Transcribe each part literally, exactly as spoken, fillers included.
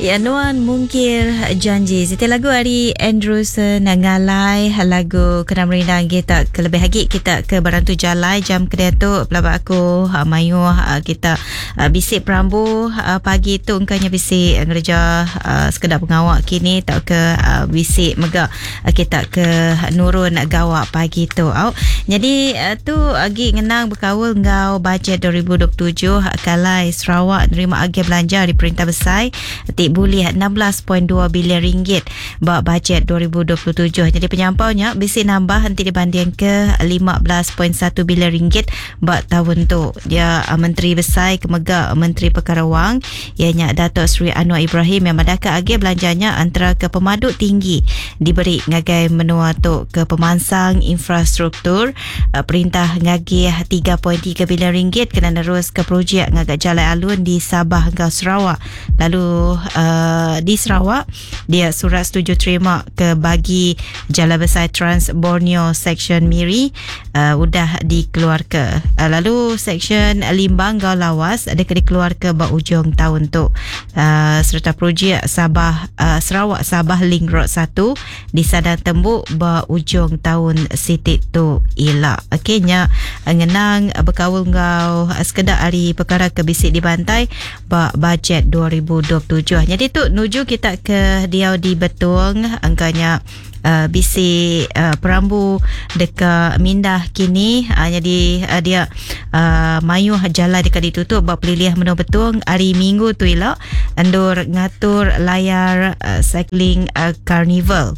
Ya, nuan mungkir janji. Siti lagu ari Andrew Senangalai, lagu kena merindang kita kelebih lagi kita ke berantu jalai jam kedai tu pelaba aku uh, mayuh uh, kita uh, bisi perambu uh, pagi tu engkanya bisi ngereja uh, sekedar pengawak kini atau ke uh, bisi mega uh, kita ke nurun gawak pagi tu. Au. Jadi uh, tu lagi ngenang berkaul ngau bajet dua ribu dua puluh tujuh kalai Sarawak nerima agi belanja di perintah besar ti bulih enam belas perpuluhan dua bilion ringgit ba bajet dua ribu dua puluh tujuh. Jadi penyampaunya bisi nambah nanti dibanding ke lima belas perpuluhan satu bilion ringgit ba tahun tu. Dia uh, Menteri Besar kemega Menteri Perkara Wang ianya Datuk Seri Anwar Ibrahim yang madahkan agi belanjanya antara ke pemadu tinggi diberi ngagai menua tu ke pemansang infrastruktur. Uh, perintah ngagih tiga perpuluhan tiga bilion ringgit kena nerus ke projek ngagak jalan alun di Sabah dan Sarawak. Lalu uh, di Sarawak dia surat setuju terima ke bagi Jalan Besar Trans Borneo Section Miri uh, udah dikeluar ke. Uh, lalu Section Limbang Gau Lawas ada ke dikeluar ke ba ujung tahun tu. Uh, serta projek Sabah uh, Sarawak Sabah Link Road satu di Sadang Tembuk ba ujung tahun siti tu ila. Okey, nya ngenang berkaul ngau sekedar hari perkara ke bisi dibantai ba bajet dua ribu dua puluh tujuh. Jadi tu nuju kita ke diau di Betung angkanya uh, bisi uh, perambu dekat mindah kini. Uh, jadi uh, dia uh, mayuh jalan dekat ditutup buat peliliah menua Betung hari Minggu tu ila endur ngatur Layar uh, Cycling uh, Carnival.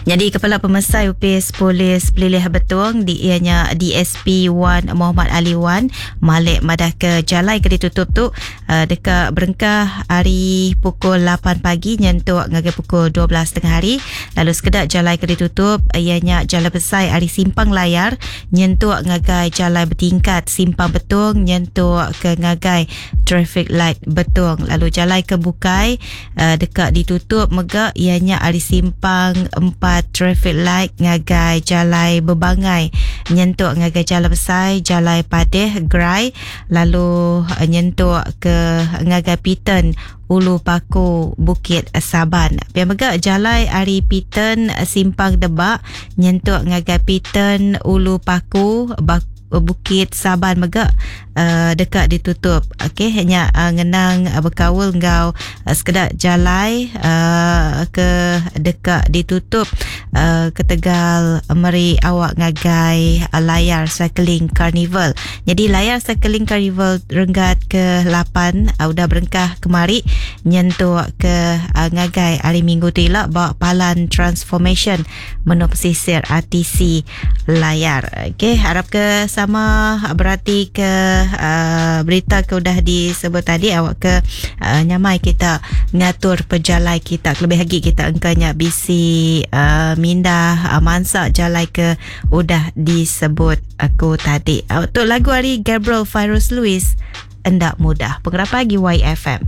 Jadi Kepala Pemesai U P S Polis Pelilih Betung di ianya D S P Wan Muhammad Ali Wan Malik madah ke jalai ke ditutup tu uh, dekat berengkah hari pukul lapan pagi nyentuk ngagai pukul dua belas tengah hari. Lalu sekedar jalai ke ditutup ianya jalan besar hari Simpang Layar nyentuk ngagai jalan bertingkat Simpang Betung nyentuk ke ngagai traffic light Betung. Lalu jalan ke Bukai uh, dekat ditutup mega ianya hari Simpang empat traffic light ngagai jalai Bebangai nyentuk ngagai jalan besar Jalai Padeh Grai, lalu uh, nyentuk ke ngagai Piton Ulu Paku Bukit Saban. Biar mega jalai ari Piton Simpang Debak nyentuk ngagai Piton Ulu Paku Bak Bukit Saban mega uh, dekat ditutup. Okey, hanya uh, ngenang uh, berkaul ngau uh, sekedar jalai uh, ke dekat ditutup uh, ke Tegal meri awak ngagai uh, Layar Cycling Carnival. Jadi Layar Cycling Carnival renggat ke lapan uh, udah berengkah kemari nyentuk ke uh, ngagai hari Minggu tu ila bawa palan transformation menu pesisir R T C Layar. Okey, harap ke sama berarti ke uh, berita ke udah disebut tadi awak ke uh, nyamai kita ngatur pejalai kita, lebih lagi kita engkanya bisi uh, mindah uh, mansak jalai ke udah disebut aku tadi. Uh, untuk lagu hari Gabriel Fairuz Louis, Endak Mudah. Pengerap pagi Y F M.